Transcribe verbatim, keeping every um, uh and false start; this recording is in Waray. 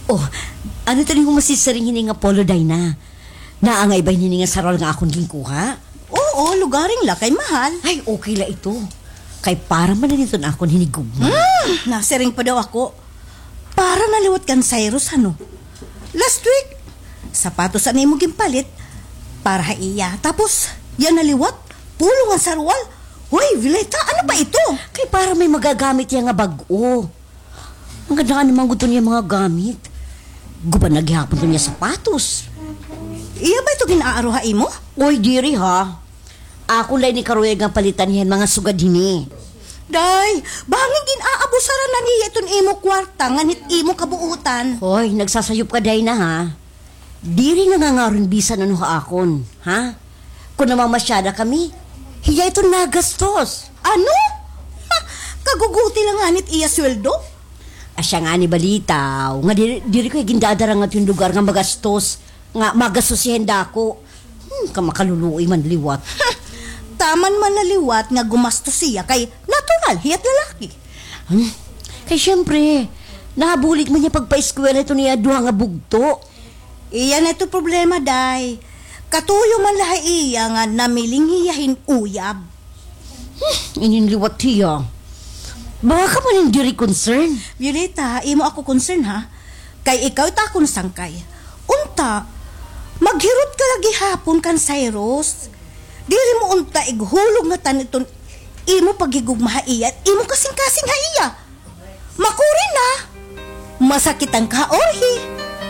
Oh, ano ito ning humasisiring hini nga polo, Dayna? Naangay ba hini nga sarwal nga akon ginkuha? Oo, lugaring la kay mahal. Ay, okay la ito. Kay para man na niton akon hinigugma. Hmm, nasiring pa daw ako. Para na liwat kan Cyrus, ano? Last week, sapatos an imo ginpalit para ha iya. Tapos, yana liwat, polo nga sarwal. Hoy, Violeta, ano ba ito? Kay para may magagamit iya nga bag-o. Ang ganda nga naman gud niya mga gamit. Guba na gihapon to niya sapatos. Iya ba ito gin-aaro ha imo? Oy, diri ha. Ako lay ni karuyag nga palitan hiyan mga sugad hini. Day, bangin gin-aabusaran na niya iton imo kwarta ngan hit imo kabuutan. Hoy, nagsasayop ka, Dayna, ha? Diri nga ngangaron bisan ano ha akon, ha? Kon namamasyada kami, hiya iton nagastos. Ano? Ha, kaguguti la ngani it iya sweldo? Asya ngani balitaw nga diri, diri ko gindadara ngadto hin lugar nga magastos, nga magastos hiya hin dako. Hmm, kamakaluluoy man liwat. Taman man na liwat nga gumastos hiya kay natural hiya't lalaki. Hmm? Kay siyempre, nabulig man niya pagpaeskwela iton iya duha nga bugto. Iya na ito problema, day. Katuyo man la ha iya nga namiling hiya hin uyab. Hmm, inin liwat hiya. Baka man hin diri concern. Violeta, imo ako concern, ha? Kay ikaw it akon sangkay. Unta, maghirot ka la gihapon kan Cyrus. Diri mo unta ighulog ngatan iton imo paghigugma ha iya, imo kasingkasing ha iya. Makuri na. Masakit ang kaorhi.